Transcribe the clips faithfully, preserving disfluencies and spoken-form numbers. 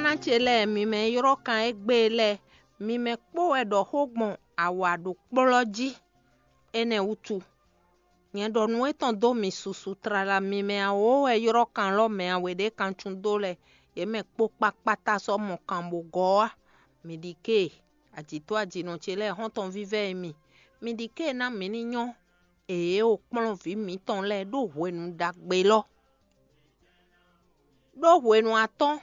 Kan ce lɛ́ɛ, mi mɛ e ylɔ́ kan égbé lɛ́ɛ, mi mɛ kpó wɛ ɖɔ xó gbɔn awǎ ɖo kplɔ́ jí. Énɛ́ wútu, nyɛ ɖɔ nǔ étɔn dó mi susu tlala, mi mɛ awǒ wɛ ylɔ́ kan lɔ́ mɛ awe ɖě kan cún dó lɛ́ɛ, yě mɛ kpó kpákpátá sɔ́ mɔ kan bó gɔ́ wá. Mi ɖi ké, ajǐtó ajǐnɔ ce lɛ́ɛ, xɔ́ntɔn vívɛ́ e mi, mi ɖi ké ná mi ní nyɔ́ èé o kplɔ́n vǐ mǐtɔn lɛ́ɛ ɖó hwenu ɖagbe lɔ́. Ɖó hwenu atɔ́ɔ́n,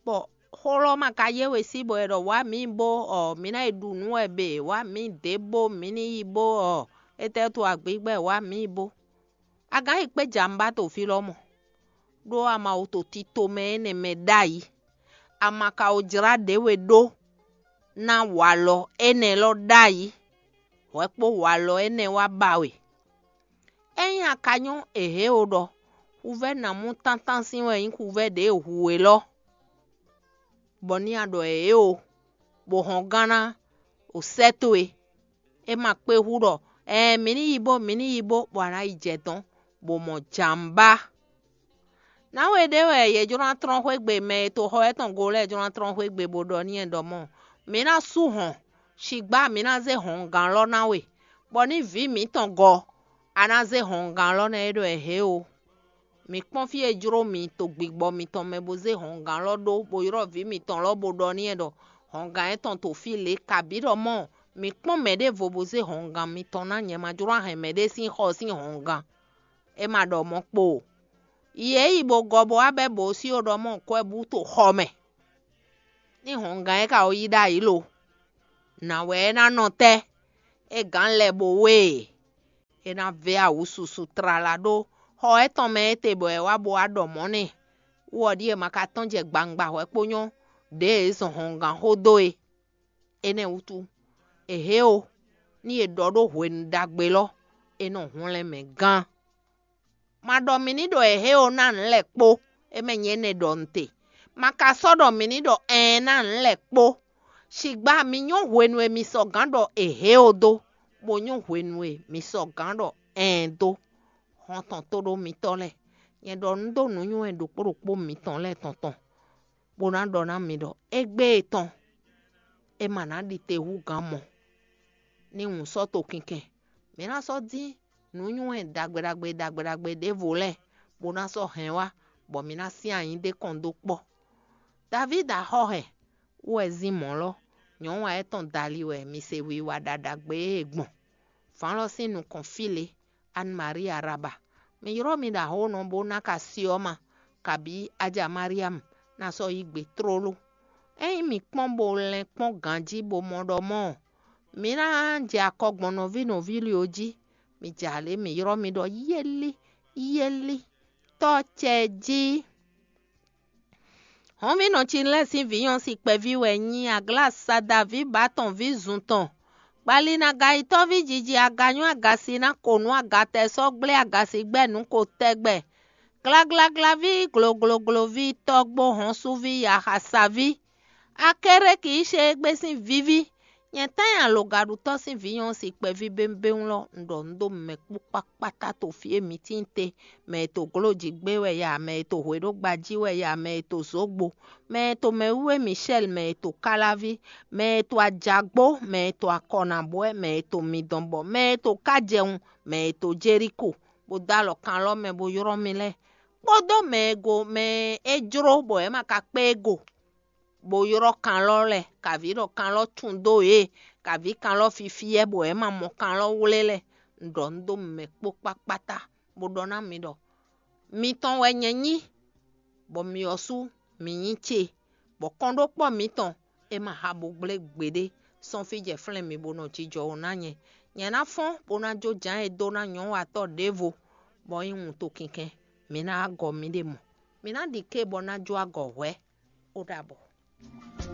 bɔ xó lɔ́ ma ka yé we sí bɔ è ɖɔ wǎ mǐ bó ɔ mǐ ná yi ɖu nǔ wɛ bě, wǎ mǐ dě bó mǐ ní yi bó ɔ étɛ́ to agbǐgbɛ wǎ mǐ bó. A gǎn yi kpé jǎmbá to fí lɔ́ mɔ, ɖó a ma wo to tito mɛ énɛ́ mɛ ɖ'ayǐ. A ma ka wo jlá ɖě we ɖó ná walɔ énɛ́ lɔ́ ɖ'ayǐ, hwɛ kpó walɔ énɛ́ wá ba we. Ényí a ka nyɔ́ èhě o ɖɔ huvɛ́ ná mú tántán sín wɛ nyí huvɛ́ ɖě hu we lɔ́, bɔ ní a ɖɔ èhě o, bó hɔn gán ná o sɛ́ towe. É ma kpé hú ɖɔ ɛɛ mǐ ní yi bó mǐ ní yi bó bɔ a nǎ yi jɛ dɔn bó mɔ jǎmbá. Nǎwe ɖé wɛ yě jló ná tlɔ́n xwé gbe, mɛ e to xɔ étɔn go lɛ́ɛ jló ná tlɔ́n xwé gbe bó ɖɔ n'i ɖɔ mɔ mǐ ná sú hɔn, sigbá mǐ ná zé hɔngán lɔ́ ná we, bɔ ní vǐ mǐtɔn gɔ, a ná zé hɔngán lɔ́ ná é ɖɔ ɛ hě o. Mǐ kpɔ́n fí e jló mi to gbigbɔ mitɔn mɛ bó zé hɔngán lɔ́ ɖó bó ylɔ́ vǐ mitɔn lɔ́ bó ɖɔ n'i ɖɔ hɔngán étɔn to fí lě, kabǐ ɖɔ mɔ mǐ kpɔ́n mɛ ɖěvo bó zé hɔngán mitɔn ná, nyɛ ma jló ná hɛn mɛɖé sín xɔ sín hɔngán. É ma ɖɔ mɔ̌ kpo o. Yi e yi bó gɔ bó wá bɛ́ bǒ sí ó ɖɔ mɔ kwɛ́ bú to xɔ mɛ. Ní hɔngán e ka o yí ɖ'ayǐ lo, nǎ wɛ é ná nɔ tɛ́? É gǎn lɛ bó wé e, é ná vɛ́ awǔ susu tlala ɖó xɔ étɔn mɛ étɛ bɔ è wá bó wá ɖɔ mɔ̌ n'i. Wú ɔ́ ɖíe ma ka tɔ́n jɛ gbangba hwɛ kpó nyɔ́ ɖěe é zɔn hɔngán xó dó é. Énɛ́ wútu, èhě o, ní è ɖɔ ɖó hwenu ɖagbe lɔ, é nɔ hwlɛ́n mɛ gán. Ma ɖɔ mǐ ní ɖɔ èhě o ná nǔ lɛ́ɛ kpó, é mɛ nyɛ énɛ́ ɖɔ nǔ te. Ma ka sɔ́ ɖɔ mǐ ní ɖɔ ɛɛn ná nǔ lɛ́ɛ kpó. Sigbá mi nyɔ́ hwenu e mi sɔgǎn ɖɔ èhě o dó, bó nyɔ́ hwenu e mi sɔgǎn ɖɔ ɛɛn dó. Hɔn tɔn tóɖó mitɔ́ lɛ́ɛ, nyɛ ɖɔ nǔ dó nǔnywɛ́ ɖokpó ɖokpó mitɔn lɛ́ɛ tɔn tɔn, bó ná ɖɔ ná mi ɖɔ égbé e tɔn, é ma ná ɖi te hú gǎn mɔ. Ní wǔ sɔ́ to kinkɛn, mǐ ná sɔ́ dín nǔnywɛ́ ɖagbe ɖagbe ɖagbe ɖagbe ɖěvo lɛ́ɛ, bó ná sɔ́ hɛn wá, bɔ mǐ ná syɛ́n anyǐ ɖé kɔn dó kpɔ́. Davídi axɔ́ hɛn wú wɛ zín mɔ̌ lɔ, nyɔ̌nu ǎ étɔn dali wɛ mi se wiwa ɖaɖagbe e gbɔn. Vǎn lɔ sín nukɔn fí lě, Anne Marie Araba. Mi ylɔ́ mi ɖo ahónɔ bó ná ka si ɔ́ ma, kabǐ Aja Mariamu ná sɔ́ yí gbe tlóló. Ényí mi kpɔ́n bo lɛn kpɔ́n ganjí bo mɔ ɖɔ mɔ̌ ɔ́, mi ná jɛ akɔ gbɔn nɔví nɔví lě ɔ́ jí. Mi jɛ alě mi ylɔ́ mi ɖɔ yɛ́lí, yɛ́lí, tɔ́ ce jí. Hɔnvínɔ Cinlɛ́ɛ sín vǐ nyɔ́ si kpɛví wɛ nyí Aglásada ví Batɔn ví zun tɔn. Gbalinaga-yitɔ́ví jiji aga nyɔ́ agasi ná ko nǔ agatɛ sɔ́ gblé agasi gbɛ́ nǔ ko tɛgbɛ. Glaglaglaví gloglogloví tɔ́gbó hɔnsuví yaxasaví. Akéréki yí se égbé sín víví. Nyɛ tán nyi alogaɖutɔ́ sín vǐ nyɔ́ si kpɛví béwúbéwú lɔ, un ɖɔ nǔ dó mɛ kpó kpákpátá to fí e mi tíin te, mɛ e to glóji gbé wɛ ya, mɛ e to hwě ɖó gbají wɛ ya, mɛ e to zǒgbo, mɛ e to mɛwíwé Mishɛ́li, mɛ e to káláví, mɛ e to ajagbó, mɛ e to akɔnabwɛ́, mɛ e to midɔnbɔ, mɛ e to kájɛwun, mɛ e to Jelíko, bó dó alɔ kan lɔ mɛ bó ylɔ́ mi lɛ́ɛ, kpódó mɛ e go mɛ e jló bɔ é ma ka kpé e go. Bó ylɔ́ kan lɔ lɛ́ɛ, kaví ɖɔ kan lɔ tún dó yě, kaví kan lɔ fifiyɛ́ bɔ é ma mɔ kan lɔ wlé lɛ́ɛ. Un ɖɔ nǔ dó mɛ kpó kpákpátá, bó ɖɔ ná mi ɖɔ: Mitɔn wɛ nyɛ nyí, bɔ mi ɔ́ sú mi nyí ce, bɔ kɔnɖókpɔ́ mǐtɔn é ma ha bo gblé gbeɖé sɔ́n fí jɛ flɛ́n mi bó nɔ jijɔ wú ná nyɛ. Nyɛ ná fɔ́n bó ná jó jǎn e dó ná nyɔ̌watɔ́ ɖěvo, bɔ é nyí wuntun kinkɛn. Mi ná wá gɔ miɖée mɔ. Mi ná ɖi ké bɔ ná jó agɔ hwɛ̌. Ó ɖabɔ.